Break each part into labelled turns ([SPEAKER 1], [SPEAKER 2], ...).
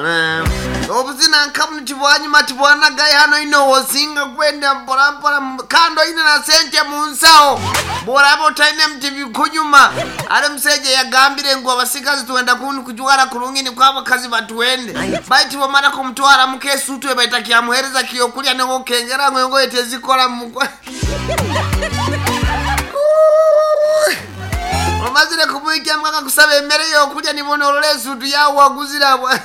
[SPEAKER 1] Obuzina nka bunu tibwanyuma tibwanagayo hano oine owosinga kwenda mpora mpora kandi oine na sente mu nsaho bworaba otaine tibikunyuma. Hare omusaija yagambire ngu abasigazi twenda kujwara kurungi nikwo abakazi batwende baitu bwomara kumutwaramu kesuutu eba etakyamuhereza kyokurya niwe okengera ngu engoye tezikora mumukwa. Omazire kumuhikyamu akakusaba emere y'okurya nibwo norora esuutu yaawe waguzire ahabwa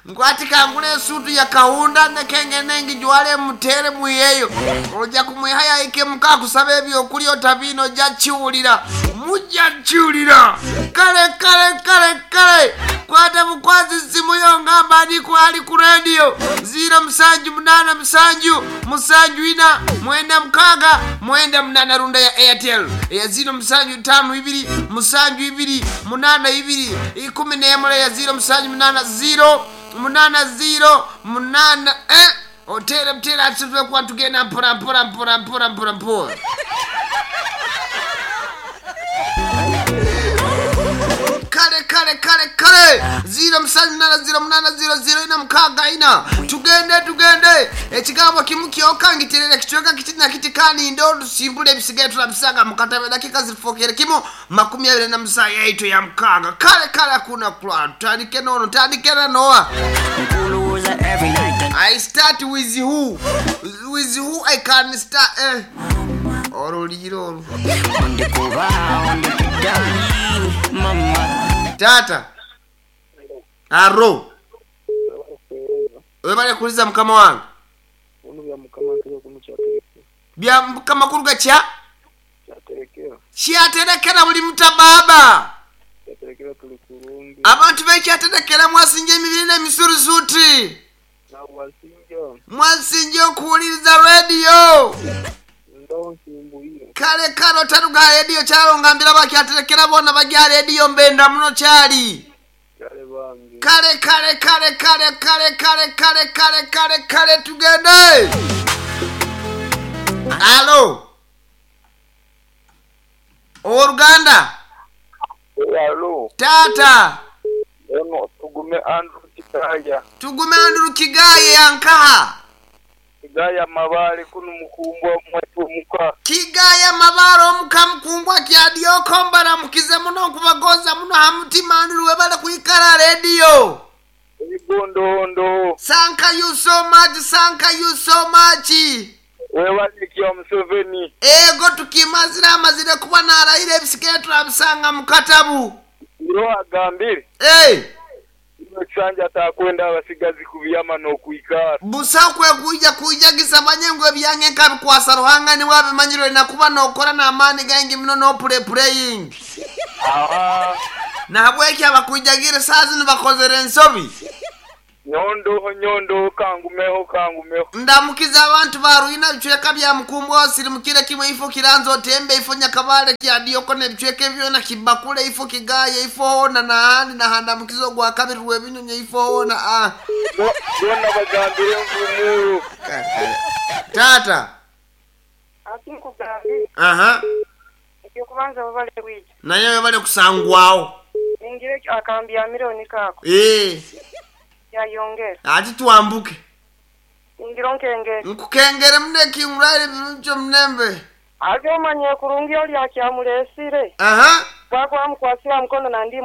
[SPEAKER 1] Ngu ati kangure esuutu ya kahunda ndeke ngende ngijware muteere mwiheyo. Oja kumwihayo ahike muka akusabe ebyokurya otabiine oja kiwulira. Muja kiwulira. Kale kale kale kale. Kwata bukwazi simu yo ngamba ani ku ali ku rediyo. Ziiro musanju munaana musanju musanju ina mwenda mukaaga mwenda munaana runda ya Airtel eya ziiro musanju taano ibiri musanju ibiri munaana ibiri ikumi n'emwe eya ziiro musanju munaana ziiro munaana ziiro munaana eh oteere buteere ati tube kuba nitugenda mpora mpora mpora mpora mpora mpora. Kale kale kale kale ziiro musanju munaana ziiro munaana ziiro ziiro ina mukaaga ina tugende tugende ekigambo kimu kyoka ngiterere kicweka kiti na kiti kandi nde otusimbule ebisigaye turabisanga mu katabo edakika zifokere kimu 27 yaitu ya mukaaga kale kale hakuna kulala tutandike nono ntandike na noa I start with who with who I can start eh oruliire oru Taata aro webale kuliza mukama wange. Bya mukama kuruga kya? Kyaterekera buli muta baaba. Abantu b'ekyaterekera mwasinja emibiri n'emisurusuuti. Mwasinja okuwuliriza rediyo. Kale kale otaruga aha rediyo kyaro ngambira abakyaterekera boona bari aha rediyo mbenda muno kyari. Kale kale kale kale kale kale kale kale kale kale tugende. Alo. Ow'oruganda.
[SPEAKER 2] Alo.
[SPEAKER 1] Taata.
[SPEAKER 2] Ono Tugume Andrew Kigaya.
[SPEAKER 1] Tugume Andrew Kigaya ya nkaha?
[SPEAKER 2] Kigaya Mabale kunu Mukumbwa mwaitu omuka.
[SPEAKER 1] Kigaya Mabale omuka Mukumbwa Kyadyoka mbaramukize muno nkubagonza muno aha mutima Andrew webale kwikara aha rediyo.
[SPEAKER 2] Ebigondondo.
[SPEAKER 1] Sanka you so much sanka you so much.
[SPEAKER 2] Webale kya Museveni.
[SPEAKER 1] Ego tukimazire amazire kuba narahira ebisigaire turabisanga mukatabu.
[SPEAKER 2] Iroho agambire.
[SPEAKER 1] Eeh.
[SPEAKER 2] Kinu ekisanja atakwenda abasigazi kubyama n'okwikara.
[SPEAKER 1] Busaho kwekwija kwijagisa manye ngu ebyange nkabikwasa Ruhanga niwe abimanyire oine kuba nokora n'amaani gaingi muno n'opure pureyingi.
[SPEAKER 2] Aha.
[SPEAKER 1] Nahabweki abakwijagiire saaha zinu bakozire ensobi.
[SPEAKER 2] Nyondoho nyondoho kangumeho kangumeho.
[SPEAKER 1] Ndamukize abantu ba Rwina ebicweka bya Mukumbwa Osirimukire kimwe Ifo Kiranzi Otembe Ifo Nyakabale Kyadiyoko n'ebicweka ebi byona Kibakule Ifo Kigaye Ifo hoona n'ahandi n'ahandamukize ogwakabiri Rwebinyonyi Ifo hoona ah.
[SPEAKER 2] Boona bagambire ngu Muuru.
[SPEAKER 1] Taata.
[SPEAKER 3] Ati nkugambire.
[SPEAKER 1] Aha.
[SPEAKER 3] Eky'okubanza webale kwija.
[SPEAKER 1] Naye webale kusangwaho.
[SPEAKER 3] Ningira ekyo akambyamire niko ako.
[SPEAKER 1] Eeh.
[SPEAKER 3] Yayongera.
[SPEAKER 1] Ati twambuke.
[SPEAKER 3] Ningira onkengere.
[SPEAKER 1] Nkukengere muno ekinguraire birungi omunembe.
[SPEAKER 3] Haza omanye kurungi ori akyamureesire.
[SPEAKER 1] Aha.
[SPEAKER 3] Bwakuba amukwasire aha mukono nandi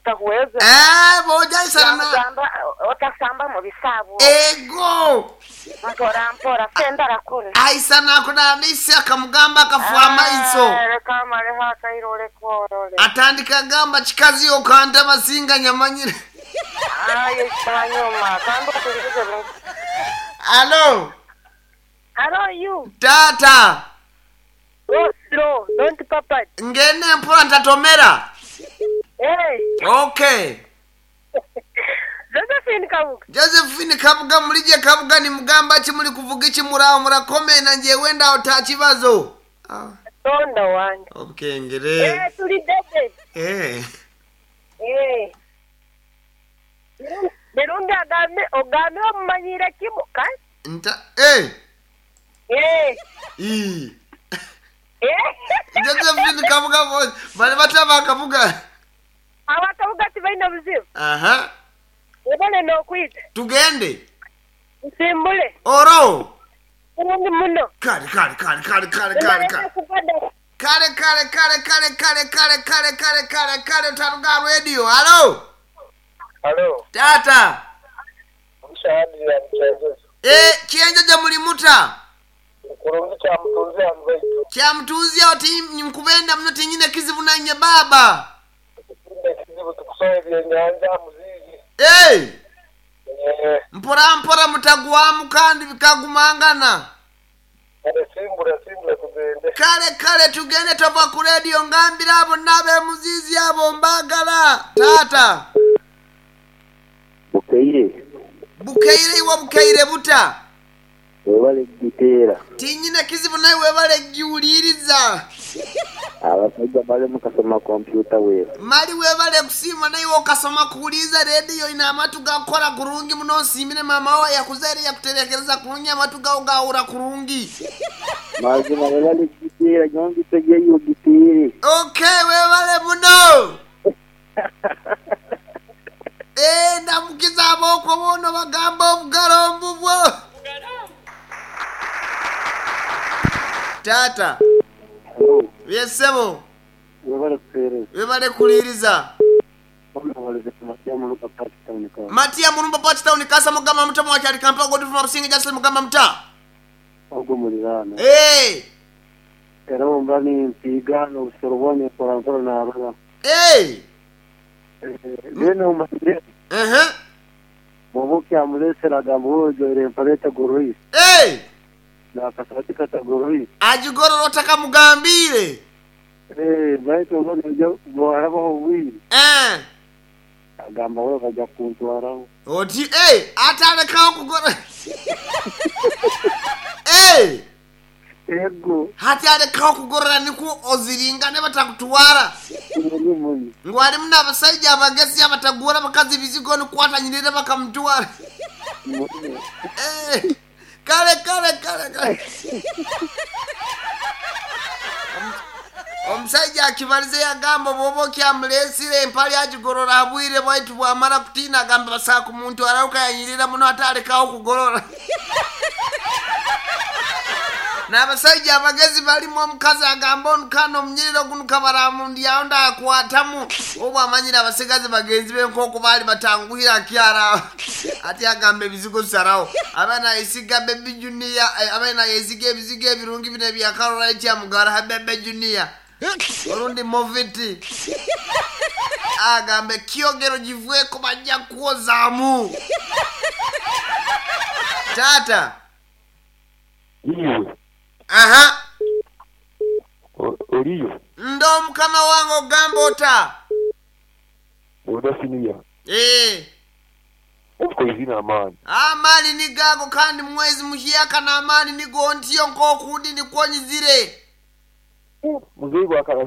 [SPEAKER 3] takuhweza.
[SPEAKER 1] Eeh bojaisana na.
[SPEAKER 4] Yamugamba otasamba mu bisaabo.
[SPEAKER 1] Ego.
[SPEAKER 4] Mpora mpora senda arakura.
[SPEAKER 1] Aisana akunana ise akamugamba akafu amaiso.
[SPEAKER 3] Reka amareho akaire oreke orore.
[SPEAKER 1] Atandika agamba kikazi okantama singa nyamanyire.
[SPEAKER 3] Aye kyanyuma kandi okulirize bulungi.
[SPEAKER 1] Alo.
[SPEAKER 3] Alo you.
[SPEAKER 1] Taata.
[SPEAKER 3] Go slow, don't papa.
[SPEAKER 1] Ngende mpora ntatomera.
[SPEAKER 3] Hey.
[SPEAKER 1] Okay.
[SPEAKER 3] Josephine Kabuga.
[SPEAKER 1] Josephine Kabuga murije Kabuga nimugamba ki muri kuvuga iki muraho murakomena njewe ndaho takibazo. Ah.
[SPEAKER 3] Tonda wange.
[SPEAKER 1] Obukengere.
[SPEAKER 3] Eh turi dede.
[SPEAKER 1] Eh.
[SPEAKER 3] Eh. Mirundi agambe ogambe omumanyire kimu ka?
[SPEAKER 1] Nta eh.
[SPEAKER 3] Eh.
[SPEAKER 1] Ii.
[SPEAKER 3] Eh.
[SPEAKER 1] Josephine Kabuga bari bataba Kabuga.
[SPEAKER 3] Aba Tibaine buzibu.
[SPEAKER 1] Aha.
[SPEAKER 3] Webale n'okwija.
[SPEAKER 1] Tugende.
[SPEAKER 3] Nsimbule.
[SPEAKER 1] Oro.
[SPEAKER 3] Bulungi muno.
[SPEAKER 1] Kale kale kale kale kale kale kale.
[SPEAKER 3] Kubada.
[SPEAKER 1] Kale kale kale kale kale kale kale kale kale kale otaruga radio. Halo.
[SPEAKER 2] Halo,
[SPEAKER 1] Tata.
[SPEAKER 2] omushahanirira mukyenjezo.
[SPEAKER 1] Eh, kyenjojo muli muta.
[SPEAKER 2] Kurungi kya mutunzi hanu baitu.
[SPEAKER 1] Kyamutunzi awo ti nkubenda muno tinyine kizibu nanye baba.
[SPEAKER 2] Ekindi ekizibu tukusoha ebyenyanja muzizi.
[SPEAKER 1] Eh,
[SPEAKER 2] Eh,
[SPEAKER 1] mpora mpora mutagwamu kandi bikagumangana.
[SPEAKER 2] kale simbula simbula tugende.
[SPEAKER 1] Kale kale tugende tova ku radio ngambira abo n'abemuzizi abo mbagala. Tata.
[SPEAKER 5] Bukeire
[SPEAKER 1] Bukeire iwe bukeire buta.
[SPEAKER 5] webale giteera
[SPEAKER 1] Tinyine kizibu naye webale giwuliriza.
[SPEAKER 5] abasajja bali mukasoma kompyuta weera
[SPEAKER 1] Mali webale kusiima naye okasoma kuwuliriza rediyo ina amatu gakola kurungi muno nsiimire mama wo yakuzaire yakuterekereza kurungi amatu gawo gawura kurungi.
[SPEAKER 5] mazima webale giteera nyongitegeyo giteere
[SPEAKER 1] Okay, webale muno. Eh, ndamukiza aboko bono bagamba obugalo mbubwo. Tata, byesebo,
[SPEAKER 5] webale kuteereza
[SPEAKER 1] webale kuliriza.
[SPEAKER 5] matiya muluka
[SPEAKER 1] Matiya Mulumba Port Town kasa mugamba muta mwakyali Kampala Godfrey Mabusinge Justin mugamba muta.
[SPEAKER 5] ogwo muliraano
[SPEAKER 1] Eh,
[SPEAKER 5] era omba nimpiiga n'obusoro bwone mpora mpora narora
[SPEAKER 1] eh.
[SPEAKER 5] then omanyire
[SPEAKER 1] Eh.
[SPEAKER 5] bwoba okyamuleesera agamba wojoire empale etagoroire
[SPEAKER 1] Eh,
[SPEAKER 5] nakasati katagoroire
[SPEAKER 1] agigorora otakamugambire.
[SPEAKER 5] baitu oba noja bwarabaho obwire
[SPEAKER 1] Eh.
[SPEAKER 5] agamba we bajja kuntwaraho
[SPEAKER 1] Oti eh atalekawo kugora. Eh,
[SPEAKER 5] ego
[SPEAKER 1] hati alekawo kugorora nikwo oziringane batakutwara.
[SPEAKER 5] muni muni
[SPEAKER 1] Ngu alimu n'abasajja abagezi abatagura bakazi bizigo nikwatanyirira bakamutwara.
[SPEAKER 5] muni
[SPEAKER 1] Eh, kale kale kale kale. Omusajja akibalize yagamba bw'oba okyamuleesire empale agigorora abwire bwaitu bwamala kutiina agamba basaaka omuntu arauka yanyirira muno ate alekawo kugorora. N'abasajja abagezi balimu omukazi agamba onukana omunyiriro guno kabaramundyawo ndakwatamu obwo amanyire abasigazi bagenzi be nk'oku baali batanguhira akyara ate agamba ebizigo sarawo abaana yesiga bebi junior abaana yesiga ebizigo ebirungi bino ebyakarora ekyamugara bebe junior olundi moviti agamba ekyogero givweko bajja kwozaamu taata
[SPEAKER 2] Iwe,
[SPEAKER 1] aha
[SPEAKER 2] oliyo,
[SPEAKER 1] ndo mukama wange ogamba ota
[SPEAKER 2] odasiniya.
[SPEAKER 1] Eh,
[SPEAKER 2] Obukozi amaani.
[SPEAKER 1] amaani ni gago kandi mwezi muhyaka n'amaani nigo ntiyo nk'okundi nikwonyizire
[SPEAKER 2] Muzeeyi bwakala